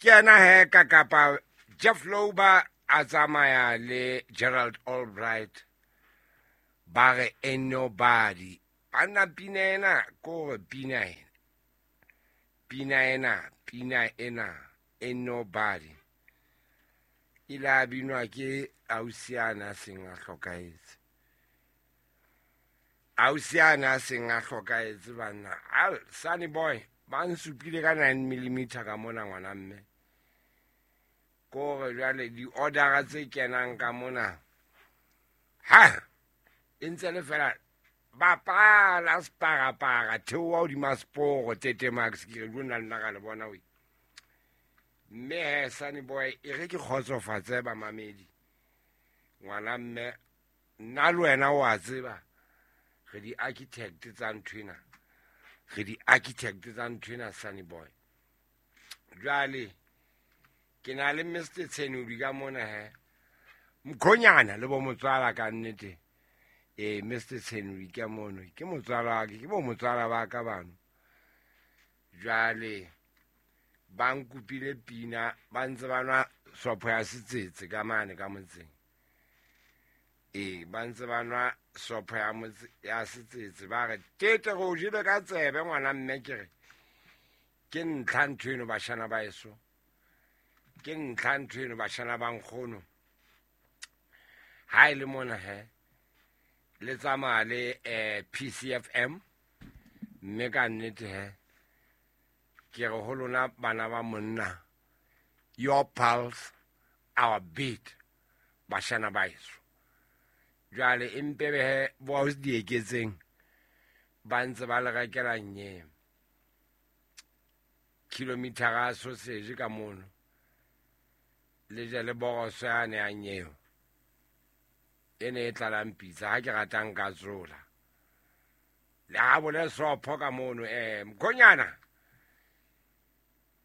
Ke yena he ka kapa Jeff Lorber a tsamaya le Gerald Albright, ba re "Ain't Nobody". Banna, pina ena ko re pina ena, pina ena, pina ena "Ain't Nobody" ile a binwa ke ausiana a seng a hlokahetse, ausiana a seng a hlokahetse. Banna, al Sunny Boy ba nsupile ka 9 millimeter ka mona, ngwana mme. Kore jwale di-ordera tse kenang ka mona ha e ntse le fela bapala separapara, theoha hodima seporo tete max. Ke re lona nna ka le bona we. Mme he, Sunny Boy, e re ke kgotsofatse bamamedi. Ngwana mme, nna le wena o a tseba re di-architect tsa nthwena, re di-architect tsa nthwena, Sunny Boy. Jwale ke na le Mr Tshenodi ka mona he, mkhonyana le bo motswala ka nnete. Ee, Mr Tshenodi ka mono ke motswala wa ke, ke bo motswala ba ka bano. Jwale ba nkopile pina, ba ntse ba nwa sopho ya setsetse ka mane ka motseng. Ee, ba ntse ba nwa sopho ya motse ya setsetse, ba re tete re o jele ka tsebe, ngwana mme. Ke re ke ntlha ntho eno, bashana ba eso, ke ntlha ntho eno, bashana ba nkgono. Ha e le mona he le tsamaya le PCFM, mme ka nnete he ke re ho lona bana ba monna, your pulse, our beat, bashana ba eso. Jwale empe behe bo di eketseng, ba ntse ba le rekela nye kilometera sausage ka mono, le je le boroso yane ya nyeo e ne e tlalang pitsa. Ha ke ratang ka tsola le ha bole sopho ka mono, mkhonyana.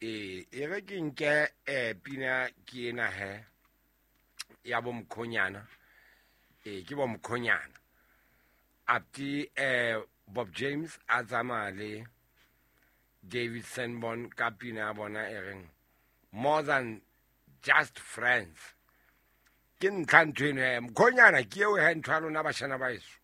Ee, e re ke nke pina ke ena he ya bo mkhonyana. Ee, ke bo mkhonyana apti Bob James a tsamaya le David Sanborn ka pina ya bona e reng "More Than Just Friends". Ke ntlha ntho eno he, mkhonyana, ke eo he ntho ya lona, bashana ba eso.